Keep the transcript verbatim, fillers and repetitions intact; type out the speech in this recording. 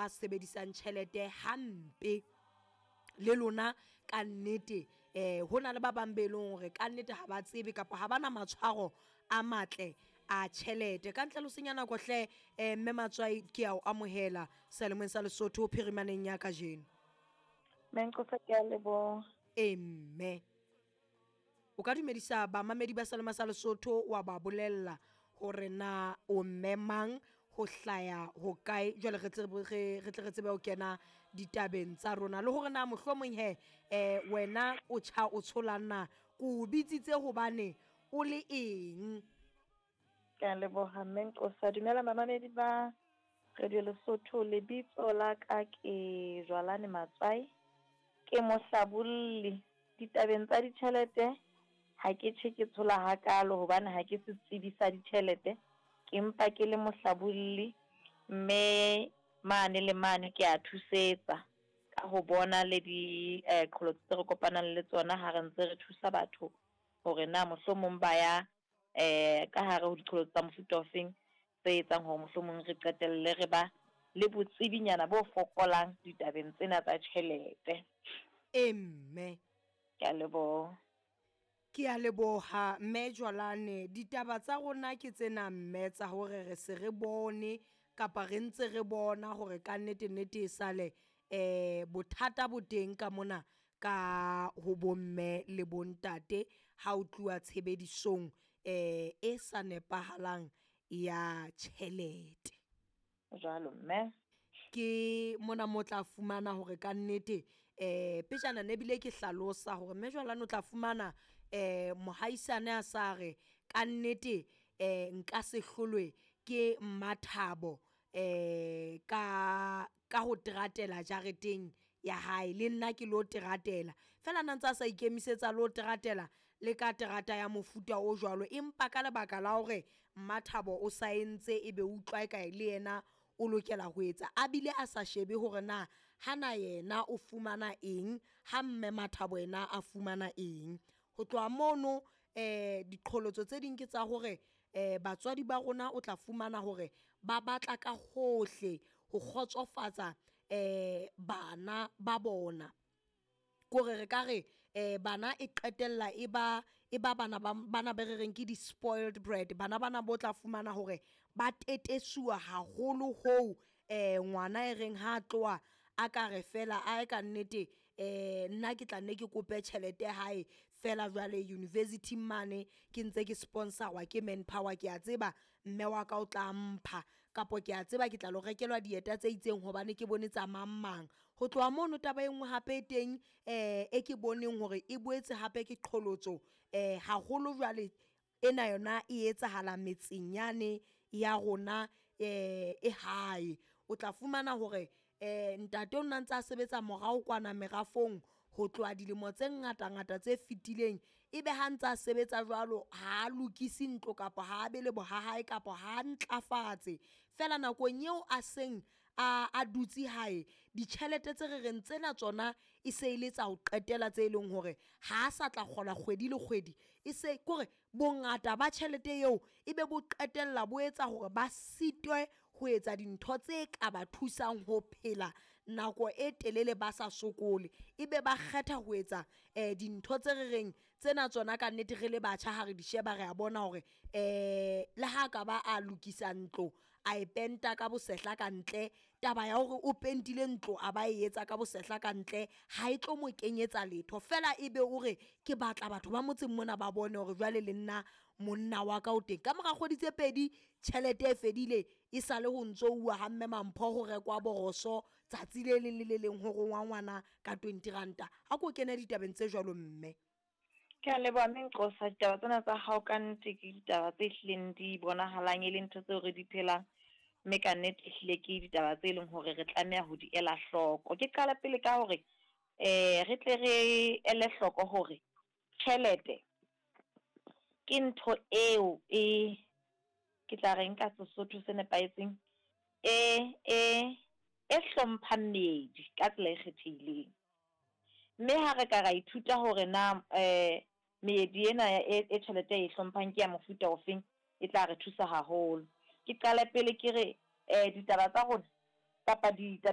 ba sebedisang tjhelete hampe. Le lona ka nnete eh ho na le ba bang be leng hore ka nnete ha ba tsebe kapa ha bana matshwaro a matle a tjhelete. Ka ntle le ho senya nako hle, eh mme Matswai ke a o amohela seyalemoyeng sa Lesotho phirimaneng ya kajeno. Mme ke a leboha. E mme o ka dumedisa bamamedi ba seyalemoya sa Lesotho wa ba bolella hore na o mme mang, ho hlaya ho kae, jwale re tsebe re re tle re tsebe ho kena ditabeng tsa rona, le hore na mohlomong he eh wena o tjha o tsholang na, ko o bitsitse hobane o le eng. Ke a leboha mme Nqosa. Dumela bamamedi ba Radio Lesotho. Lebitso la ka ke Jwalane Matswai, ke mohlabolli ditabeng tsa ditjhelete. Ha ke tjhe ke tshola hakalo hobane ha ke setsebi sa ditjhelete, ke mpa ke le mohlabolli, mme mane le mane ke a thusetsa ka ho bona le di eh qholotso tse re kopanang le tsona ha re ntse re thusa batho hore na mohlomong ba ya eh ka hare ho diqholotso tsa mofuta ofeng tse etsang hore mohlomong re qetelle re ba le botsebinyana bo fokolang ditabeng tsena tsa tjhelete. E mme Ke a leboha. Ke a leboha mme Jwalane. Ditaba tsa rona ke tsena mme tsa hore re se re bone kapa re ntse re bona hore ka nnete nnete e sale eh bothata bo teng ka mona ka ho bomme le bontate ha o tluwa tshebedisong eh e sa nepahalang ya tjhelete. Jwalo mme. Ke mona mo tla fumana hore ka nnete eh pejana ne bile ke hlalosa hore mme Jwalane o tla fumana eh mohaisane a sa re ka nnete eh nka se hlolwe ke Mmathabo eh ka ka ho teratela jareteng ya hae, le nna ke lo teratela fela na ntse a sa ikemisetsa lo teratela le ka terata ya mofuta o jwalo, empa ka lebaka la hore Mmathabo o sa entse ebe utlwa eka le yena o lokela ho etsa, a bile a sa shebe hore na hana yena o fumana eng, ha mme Mathabo yena a fumana eng. Ho tloha mono eh diqholotso tse ding ke tsa hore eh batswadi ba rona o tla fumana hore ba batla ka hohle ho kgotsofatsa eh bana ba bona. Kore re ka re eh bana e qetella e ba e ba bana ba bana be re reng ke di-spoiled brat, bana bana bo tla fumana hore ba tetesuwa haholo hoo eh ngwana e reng ha tloha a ka re fela a ka nnete eh nna ke tla nne ke kope tjhelete hae fela jwale university mane ke ntse ke sponsor-wa ke Manpower, ke a tseba mme wa ka o tla mpha, kapo ke a tseba ke tla lo rekelwa dieta tse itseng hobane ke bone tsa mang mang. Ho tloha mono taba e nngwe hape e teng eh e ke boneng hore e boetse hape ke qholotso eh haholo jwale ena yona e etsahala metseng yane ya rona eh e hae. O tla fumana hore eh ntate o nna ntse a sebetsa morao kwana merafong ho tloha dilemo tse ngata ngata tse fetileng, ebe ha ntse a sebetsa jwalo ha a lokise ntlo kapa ha a be le bohahae kapa ha a ntlafatse. Fela nakong eo a seng a a dutse hae, ditjhelete tse re reng tsena tsona e se e le tsa ho qetela tse leng hore ha a sa tla kgola kgwedi le kgwedi, e se kore bongata ba tjhelete eo ebe bo qetella bo etsa hore ba sitwe ho etsa dintho tse ka ba thusang ho phela nako e telele ba sa sokole. Ebe ba kgetha ho etsa eh dintho tse re reng tsena tsona ka nnete re le batjha ha re di sheba re a bona hore eh le ha ka ba a lokisa ntlo a e penta ka bosehla ka ntle, taba ya hore o pentile ntlo a ba e etsa ka bosehla ka ntle ha e tlo mo kenyetsa letho, fela ebe o re ke batla batho ba motseng mona ba bone hore jwale le nna monna wa ka o teng. Ka mora kgwedi tse pedi tjhelete e fedile, e sale ho ntso uwa ha mme Mampho ho rekwa boroso tsatsi le leng le le leng ho rongwa ngwana ka twenty ranta. Ha ko kene ditabeng tse jwalo mme. Ke a leboha mme Nqosa, ditaba tsena tsa hao ka nnete ke ditaba tse hlileng di bonahalang e le ntho tseo re di phelang, mme ka nnete ehlile ke ditaba tse leng hore re tlameha ho di ela hloko. Ke qala pele ka hore eh re tle re ele hloko hore tjhelete ke ntho eo e ke tla reng ka Sesotho se nepahetseng e e e hlomphang meedi ka tsela e kgethehileng. Mme ha re ka ra ithuta hore na eh meedi ena e e tjhelete e hlomphang ke ya mofuta ofeng, e tla re thusa haholo. Ke qale pele ke re eh ditaba tsa rona kapa ditaba